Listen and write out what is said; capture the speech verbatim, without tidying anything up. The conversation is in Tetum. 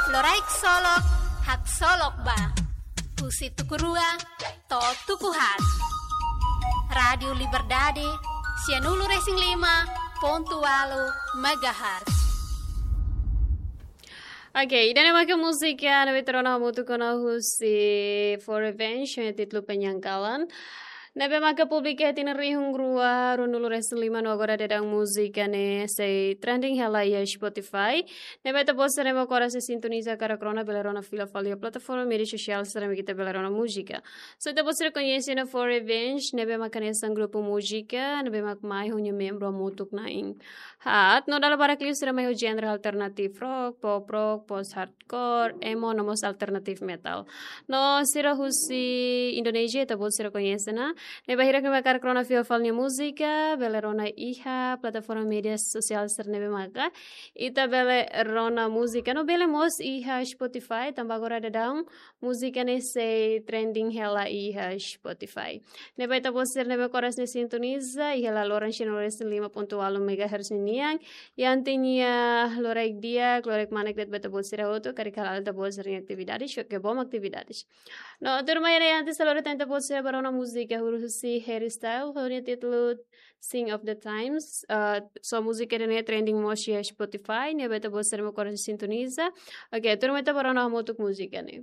Loraik Solok, Haksolok Ba. Husi tuku rua to'o tuku haat. Rádiu Liberdade, sianulu-resin-lima pontu ualu megahertz. Oke, ida-ne'e maka múzika ne'ebé ita rona hamutuk ona husi Four Revenge, ho títulu Penyangkalan. Ne'ebé maka publika iha tinan rihun rua ruanulu-resin-lima no agora daudaun múzika ne'e sei trending hela iha Spotify. Ne'ebé ita-boot sira ne'ebé mak oras ne'e sintoniza karik rona bele rona fila fali iha plataforma média sosiál sira ne'ebé ita bele rona múzika. Se ita-boot sira koñese ona Four Revenge, ne'ebé maka hanesan grupu múzika ne'ebé mak mai ho nia membru hamutuk na'in haat, no dala barak liu sira mai ho genre alternative rock, pop rock, post hardcore, emo, no mós alternative metal. No sira husi Indonézia, ita-boot sira koñese ona. Ne'ebé bainhira ita karik rona fila fali nia múzika, bele rona iha plataforma média sosiál sira ne'ebé maka ita bele rona múzika. No bele mós iha Spotify, tanba agora daudaun múzika ne'e sei trending hela iha Spotify. Ne'ebé ita-boot sira ne'ebé mak oras ne'e sintoniza, iha hela loron sianulu-resin-lima pontu ualu megahertz nian. Iha ita-nia loraik di'ak, loraik manek de'it ba ita-boot sira hotu, karik hala'o ita-boot sira-nia atividade, show ke bom atividade. No, tuirmai ne'e antes halo ita-boot sira bá rona múzika husi Harry Styles, ho nia títulu Sign of the Times. Ah, so múzika ne'e trending mós iha Spotify, ne'ebé ita-boot sira ne'ebé mak oras ne'e sintoniza. Oke, tuirmai ita bá rona hamutuk múzika ne'e.